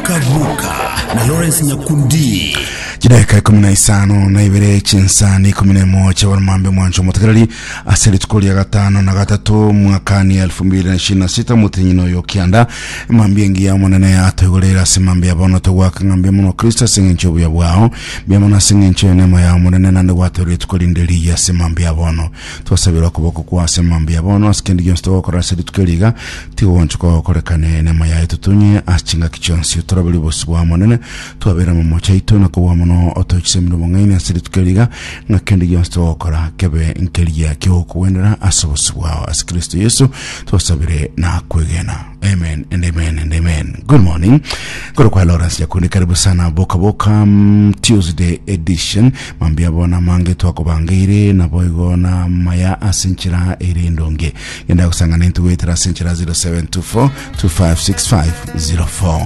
Boka Boka na Lawrence Nyakundi. Chidakika 12 chinsani 11 chiabaromambe mwancho omotegereri ase rituko ria gatano na gatato mwakani 2026 motinyino oyo kianda mambia engiya omonene atoigorere ase mambia bono togwaka ng'a mbuya mono kristo ase eng'encho obuya bwao mbuya mono ase eng'encho enema ya omonene naende gwatoire rituko rinde riya ase mambia bono Twasabire okoboko kwao ase mambia bono, ase kende gionsi togokora ase rituko eri iga, tigogonchoka gokorekane enema yaye totunye ase chingaki chionsi. Toraberie obosio bwao Omonene, twabere amamocho aito, na kobua mono otoe chisemi na obong'aini ase rituko eri iga, ng'a kende gionsi togokora kebe nkeria ki'ogokogwenera ase obosio bwao. Ase Kristo Yeso twasabire na kwegena. Amen and amen and amen. Good morning. Koro kwa Lawrence Nyakundi karibu sana Boka Boka Tuesday edition. Mambia bona mange twakobangeire naboigo na maya ase enchera ere endonge. Genda gosangana intwe goetera ase enchera 0724 256504.